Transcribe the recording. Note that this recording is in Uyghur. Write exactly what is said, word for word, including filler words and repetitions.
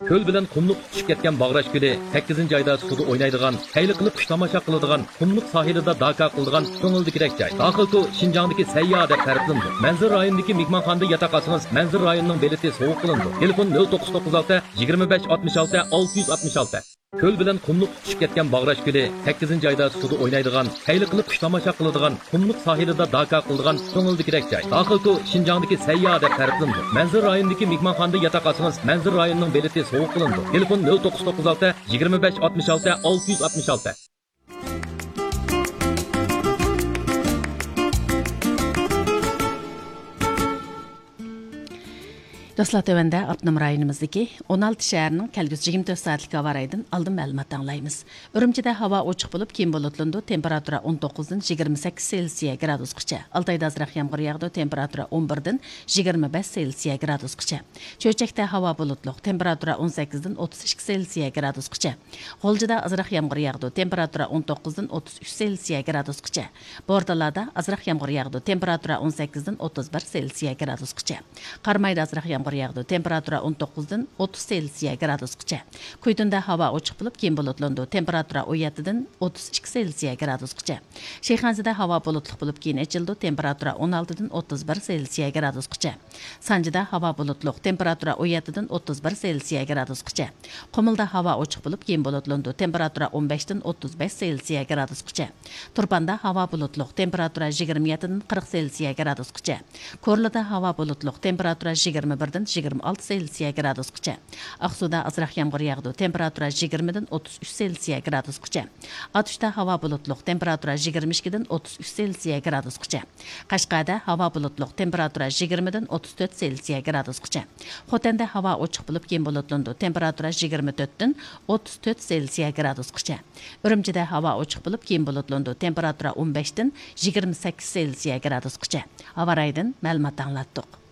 كۆل بىلەن قۇملۇق تۇتىشىپ كەتكەن باغراش كۆلى، سەككىزىنچى ئايدا سۇدا ئوينايدىغان، خەيرلىك قىلىپ قۇش تاماشا قىلىدىغان، قۇملۇق ساھىلىدا داكا قىلىدىغان كۆڭۈلدىكىدەك جاي. داخىل كۆل شىنجاڭدىكى سەيياھ دەپ تەرىپلىنىدۇ. مەنزىرە رايونىدىكى مېھمانخانىدا ياتاق ئالسىڭىز، مەنزىرە رايونىنىڭ بېلىتى سوۋغا قىلىنىدۇ. تېلېفون: نۆل توققۇز توققۇز ئالتە، يىگىرمە بەش ئاتمىش ئالتە، ئالتە يۈز ئاتمىش ئالتە. كۆل بىلەن قۇملۇق تۇتۇشۇپ كەتكەن باغراش كۆلى، سەككىزىنچى ئايدا سۇدا ئوينايدىغان، خەيرلىك قىلىپ قۇش تاماشا قىلىدىغان، قۇملۇق ساھىلىدا داكا قىلىدىغان كۆڭۈلدىكىدەك جاي. داخىل كۆل شىنجاڭدىكى سەيياھ دەپ تەرىپلىنىدۇ. مەنزىرە رايونىدىكى مېھمانخانىدا ياتاق ئالسىڭىز، مەنزىرە رايونىنىڭ بېلىتى سوۋغا قىلىنىدۇ. تېلېفون: نۆل توققۇز توققۇز ئالتە، يىگىرمە بەش ئاتمىش ئالتە، ئالتە يۈز ئاتمىش ئالتە. دوستلار، تۆۋەندە ئاپتونوم رايونىمىزدىكى ئون ئالتە شەھەرنىڭ كەلگۈسى يىگىرمە تۆت سائەتلىك ھاۋا رايىدىن ئالدىن مەلۇمات ئاڭلايمىز. ئۈرۈمچىدە ھاۋا ئوچۇق بولۇپ، كېيىن بۇلۇتلىنىدۇ، تېمپېراتۇرا ئون توققۇزدىن يىگىرمە سەككىز سېلسىيە گرادۇسقىچە. ئالتايدا ئازراق يامغۇر ياغىدۇ، تېمپېراتۇرا ئون بىردىن يىگىرمە بەش سېلسىيە گرادۇسقىچە. چۆچەكتە ھاۋا بۇلۇتلۇق، تېمپېراتۇرا ئون سەككىزدىن ئوتتۇز ئىككى سېلسىيە گرادۇسقىچە. غۇلجىدا ئازراق يامغۇر ياغىدۇ، تېمپېراتۇرا ئون توققۇزدىن ئوتتۇز ئۈچ سېلسىيە گرادۇسقىچە. بورتالادا ئازراق يامغۇر ياغىدۇ، تېمپېراتۇرا ئون سەككىزدىن ئوتتۇز بىر سېلسىيە گرادۇسقىچە. قارامايدا ئازراق يامغۇر ياغىدۇ، تېمپېراتۇرا ئون توققۇزدىن ئوتتۇز سېلسىيە گرادۇسقىچە. كۈيتۇندا ھاۋا ئوچۇق بولۇپ، كېيىن بۇلۇتلىنىدۇ، تېمپېراتۇرا ئون يەتتىدىن ئوتتۇز ئىككى سېلسىيە گرادۇسقىچە. شىخەنزىدە ھاۋا بۇلۇتلۇق بولۇپ، كېيىن ئېچىلىدۇ، تېمپېراتۇرا ئون ئالتىدىن ئوتتۇز بىر سېلسىيە گرادۇسقىچە. سانجىدا ھاۋا بۇلۇتلۇق، تېمپېراتۇرا ئون يەتتىدىن ئوتتۇز بىر سېلسىيە گرادۇسقىچە. قۇمۇلدا ھاۋا ئوچۇق بولۇپ، كېيىن بۇلۇتلىنىدۇ، تېمپېراتۇرا ئون بەشتىن ئوتتۇز بەش سېلسىيە گرادۇسقىچە. تۇرپاندا ھاۋا بۇلۇتلۇق، تېمپېراتۇرا يىگىرمە يەتتىدىن قىرىق سېلسىيە گرادۇسقىچە. كورلىدا ھاۋا بۇلۇتلۇق، تېمپېراتۇرا يىگىرمە بىردىن يىگىرمە ئالتە سېلسىيە گرادۇسقىچە. ئاقسۇدا ئازراق يامغۇر ياغىدۇ، تېمپېراتۇرا يىگىرمىدىن ئوتتۇز ئۈچ سېلسىيە گرادۇسقىچە. ئاتۇشتا ھاۋا بۇلۇتلۇق، تېمپېراتۇرا يىگىرمە ئىككىدىن ئوتتۇز ئۈچ سېلسىيە گرادۇسقىچە. قەشقەردە ھاۋا بۇلۇتلۇق، تېمپېراتۇرا يىگىرمىدىن ئوتتۇز تۆت سېلسىيە گرادۇسقىچە. خوتەندە ھاۋا ئوچۇق بولۇپ، كېيىن بۇلۇتلىنىدۇ، تېمپېراتۇرا يىگىرمە تۆتتىن ئوتتۇز تۆت سېلسىيە گرادۇسقىچە. ئۈرۈمچىدە ھاۋا ئوچۇق بولۇپ، كېيىن بۇلۇتلىنىدۇ، تېمپېراتۇرا ئون بەشتىن يىگىرمە سەككىز سېلسىيە گرادۇسقىچە. ھاۋا رايىدىن مەلۇمات ئاڭلاتتۇق.